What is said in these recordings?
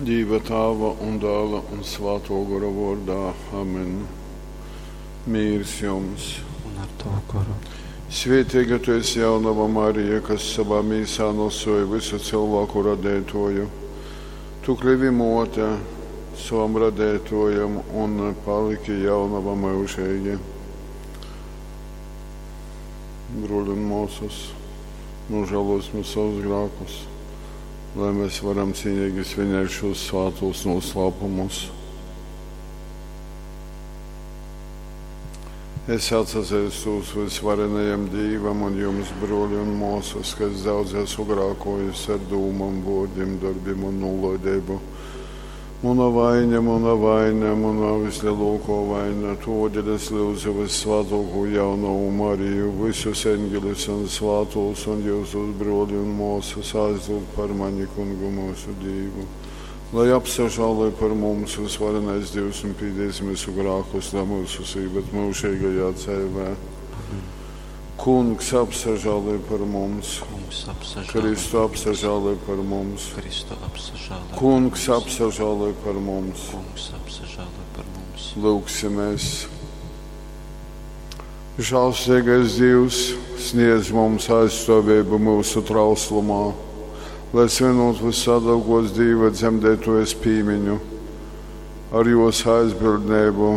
Dīva Tāva un Dāla un Svātō Gora vōrdā. Amen. Mīrs jums! Un ar tovu goru. Svētīga tu esi jaunava Marija, kas savā mīsā nosoja visu cilvēku radētoju. Tu klivi mote savam radētojam un paliki jaunava mūžīgi. Bruļi un māsas, nožēlosim savus grēkus, lai mēs varam cīnīgi svinēt šos svātos noslēpumus. Es atsazīstos visvarenajam Dīvam un jums, broļi un māsas, ka es daudz esmu grēkojis ar dūmām, vārdiem, darbiem un nolaidību. Mana vaina, mana vaina, mana vislielākā vaina, todēļ es lūdzu vissvētāko jaunavu Mariju, visus eņģeļus un svātos un jūsus broļi un māsas aizlūgt par mani kungu mūsu Dievu. Lai apsažāloj par mums visvarenais Dievs un pīdīs mūsu grēkus, lai mūsu sīvet mūžīgajā dzīvē. Kungs apsažāloj par mums, Kungs apsažāloj. Kristu apsažāloj par mums, Kristu apsažāloj. Kungs apsažāloj par mums. Kungs apsažāloj par mums. Lūgsimies. Žēlsirdīgais Dievs sniedz mums aizstāvību mūsu trauslumā, lai svinot visādākos Dieva dzemdētojas pīmiņu, ar jos aizbildnību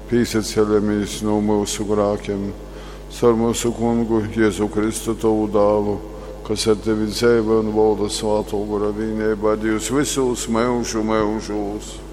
pīsaceļamies no mūsu grākiem, caur mūsu kungu Jēzu Kristu tavu dālu, kas ar tevi dzīvo un valda svāto gora vienībā Dievs visos mūžu mūžos.